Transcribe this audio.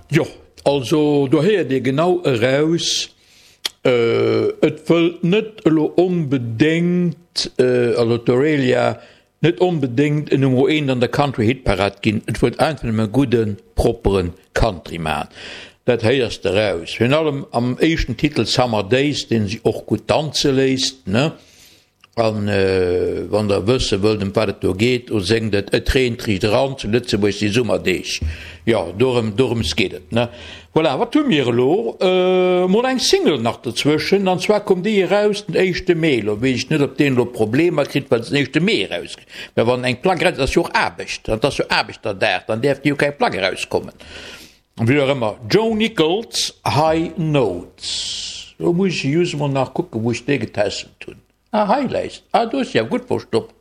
Jo, also do héiert ee genau eraus, et wëllt net elo onbedéngt, also d'Aurelia, net onbedéngt en Nummer eent an der Country Hitparad ginn, et wëllt einfach nëmme gudden, proppere Country maachen. Dat héiers de eraus, virun allem am éischten Titel Summer Days, deen si och gutt danze léisst, ne? An wann der wësse wëllt ëm wat et do geet, do séngt et, Et reent riicht eran, zu Lëtzebuerg si Summerdeeg. Jo, dorëm, dorëms geet et, ne? Voilà, wat hu mir elo? Mol eng Single nach dozwëschen, an zwar koum déi eraus den éischte Mee. Elo weess ech net, ob deen elo Problemer kritt, well se den éischte Mee erauskritt. Mä wann eng Plack eraus, et ass jo och Aarbecht, an et ass jo Aarbechterdag, dann däerf déi jo keng Plack erauskommen. Wéi och ëmmer, Joe Nichols, High Notes. Lo muss ech just emol nach kucken, wou ech déi getässelt hunn. Ah, hei läit se. Ah, do ass se awer gutt verstoppt.